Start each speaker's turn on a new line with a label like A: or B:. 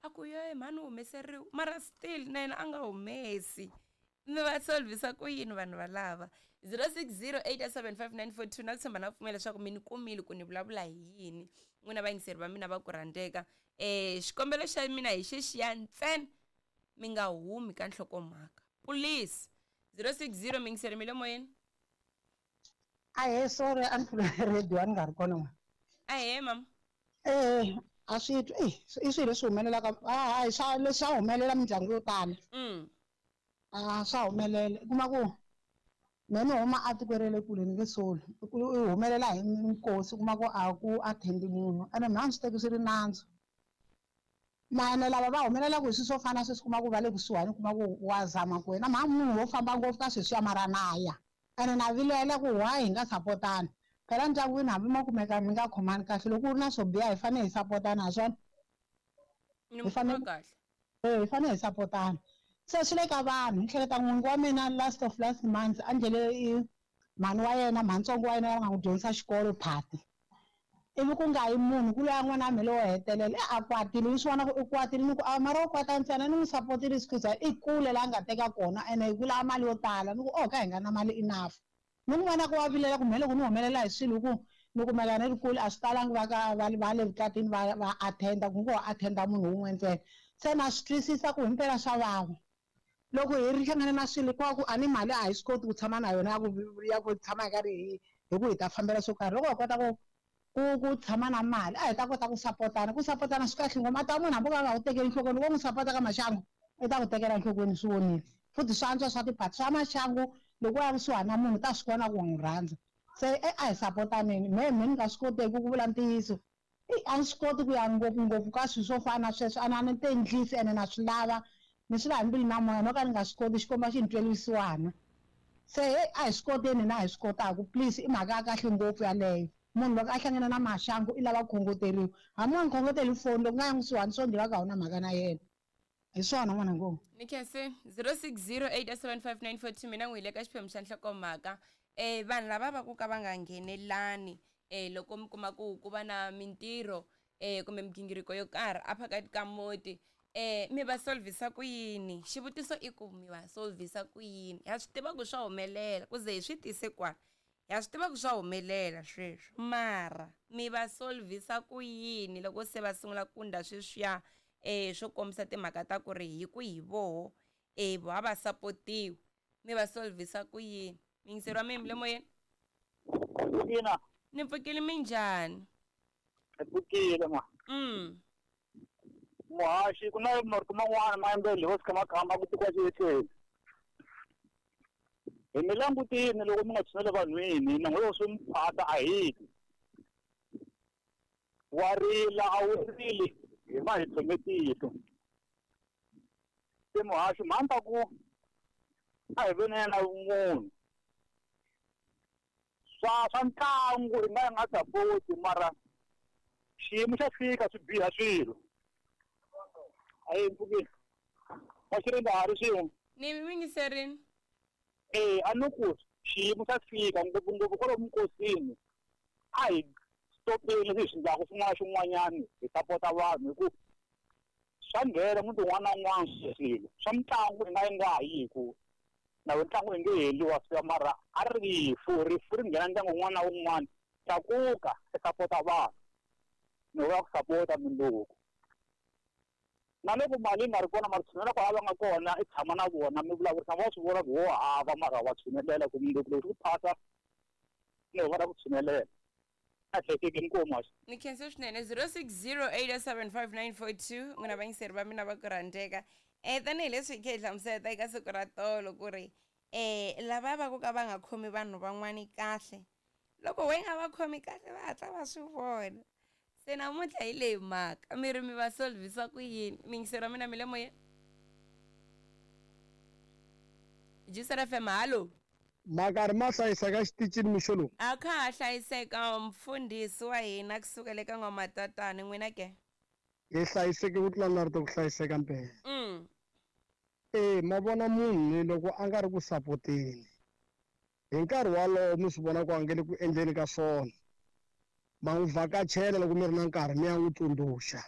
A: A ku ye mhani u humeseriwe mara still na yena a nga humesi. Mi va solvisa ku yini vanhu valava? 0608755942 na ku tshemba na ku pfumela leswaku mi ni kumile ku ni vulavula hi yini n'wina vayingiseri va mina va ku rhandzeka. Xikombelo xa mina hi xexiya ntsena mi nga humi ka nhlokomhaka please. 060 miyingiseri mi le moyeni.
B: Ahee, sorry a ni pfule radio a ni nga ri kona n'wana.
A: Ahee mama.
B: Eh, a swi twi eh, i swilo leswi humelelaka a hayi swa leswi swa humelela mindyangu yo tala. A swa humelela u kuma ku me ni huma a tikweni ra le kule ni nge soli u humelela hi nkosi u kuma ku a ku attend munhu ene mina a ni swi teki swi ri nandzu. Mara lava va humelelaka hi swilo swo fana na sweswi u kuma ku va le kusuhani u kuma ku wa zama ku wena mha munhu wo famba ngopfu ka sweswiya mara na ya ene na vilela ku why hi nga sapotani phela ndyangwini hambi mo kumeka mi nga khomani kahle loko ku ri na swo biha hi fanele hi sapotana ha swona
A: Ni
B: hi
A: mi
B: fanele
A: khoma kahle.
B: eh hi fanele hi sapotana se swi le ka vanhu ni hleketa n'wingi wa mina last of last month a ndlele i mhani wa yena mhanitsongo wa yena va nga n'wi dyondzisa xikolo phati ivi ku nga yi munhu ku loya n'wana wa mina lowo hetelela e a kwatile ni swi vona ku u kwatile ni ku a mara u kwata ntsena ni n'wi sapotile sikuza i kule laha a nga teka kona ene hi ku lava mali yo tala ni ku o ka hi nga na mali enough ni n'wi vona ku wa vilela ku mhe loko ni humelela hi swilo hi ku ni kumeka ni ri kule a swi talangi va ka va va le vukatini va va attend-a ku ngo ho attend-a munhu wun'we ntsena se na swi twisisa ku himpela swa vava loko hi ri hlangane na swilo hinkwako a ni mali a hi swi koti ku tshama na yona ya ku ya ku tshama hi karhi hi hi ku hi ta fambela swo karhi loko hi kota ku ku ku tshama na mali a hi ta kota ku sapotana ku sapotana swi kahle ngopfu mata munhu hambi o ka a nga ku tekeli enhlokweni loko u n'wi sapota ka maxangu i ta ku tekela enhlokweni swi vonile futhi swa antswa swa tiphati swa maxangu loko u ya kusuhani na munhu u ta swi vona ku wa n'wi rhandza se e a hi sapotaneni mehe me ni nga swi koteki ku vula ntiyiso i a ni swi koti ku ya ngopfungopfu ka swilo swo fana na sweswo a ni ti endlisi ene na swi lava ni swi lava hi mbilu na moya no ka ni nga swi koti Xikwembu a xi ni tweli vusiwana se heyi a hi swi koteni hina hi swi kotaka please i mhaka ya kahle ngopfu yaleyo munhu loko a hlangana na maxangu i lava ku khongoteriwa hambi u nga n'wi khongoteli hi foni loko u nga ya kusuhani swo ndliwa ka a wu na mhaka na yena hi swona n'wana ngo.
A: Ni khense 06087594 mina n'wi hi le ka xiphemu xa nhlokomhaka um vanhu lava va ku ka va nga nghenelani um loko mi kuma ku ku va na mintirho um kumbe migingiriko yo karhi a phakati ka muti um mi va solvhisa ku yini xivutiso i ku mi va solvhisa ku yini ha swi tiva ku swa humelela ku ze hi swi tise kwala ha swi tiva ku swa humelela sweswo mara mi va solvhisa ku yini loko se va sungula ku ndla sweswiya um swo kombisa timhaka ta ku ri hi ku hi voho um vo a va sapotiwi mi va solvhisa ku yini miyingiseri wa mina mi le moyeni
C: Ina,
A: ni pfukile minjhani
C: hi pfukile ma. Muhaxi ku na marito man'wana ma yimbeleli ho tshama khamba ku tikiwa xiyetleni. Hi mi langutini loko mi nga tshuneli vanhwini na n'we swi mi phata a hi ti. Wa rila a wu rili hi va hi tlhome tihlo. Se muhaxi mhani ta ku a hi veni na vumunhu. Swa swa ntlangu hi nga hi nga sapoti mara xiyimo xa fika swi biha swilo. A yi mpfukile. Wa xiringa ha ri swin'we.
A: Ni mi yingiserini.
C: Eh a ni ku xiyimo xa fika ngopfungopfu kwalomu minkosini a hi stopeni leswi hi swi endlaka xin'wana na xin'wanyana hi sapota vanhu hi ku swa nghena muti wun'wana na wun'wana swilo swa mitlangu i nga yi nga yi hi ku na we ntlangu i nge heli wa fika mara a ri rifu rifu ri nghena ndyangu wun'wana na wun'wana tlakuka i sapota vanhu ni vula ku sapota mindzuku na loko mali yi nga ri kona mara tshunelela kwala va nga kona i tshama na vona mi vulavurisana va swi vona ku wo hava mara wa tshunelela ku mundzuku loko swi ku phasa ni vona ku tshunelela a hlekeki inkomu haxi
A: Ni khense swinene 0608755942 n'wina vayingiseri va mina va ku rhandzeka um tanihileswi hi khe hi hlamusela eka siku ra tolo ku ri um lava va ku ka va nga khomi vanhu van'wani kahle loko we nga va khomi kahle va hatla va swi vona se namuntlha hi leyi mhaka mi ri mi va solvhisa ku yini miyingiseri wa mina mi le moyeni Juicer FM hallo
D: Makarhi ma hlayiseka exitichini mixo lowu.
A: A kha ha hlayiseka mfundhisi wa hina kusukela eka n'wamatatani n'wina ke?
D: Hi hlayiseke ku tlula na rito ku hlayiseka mpela. E ma vona munhu ni loko a nga ri ku sapoteni hi nkarhi walowo mi swi vona ku a nge le ku endleni ka swona ma n'wi vhakachela loko mi ri na nkarhi mi ya n'wi tsundzuxa.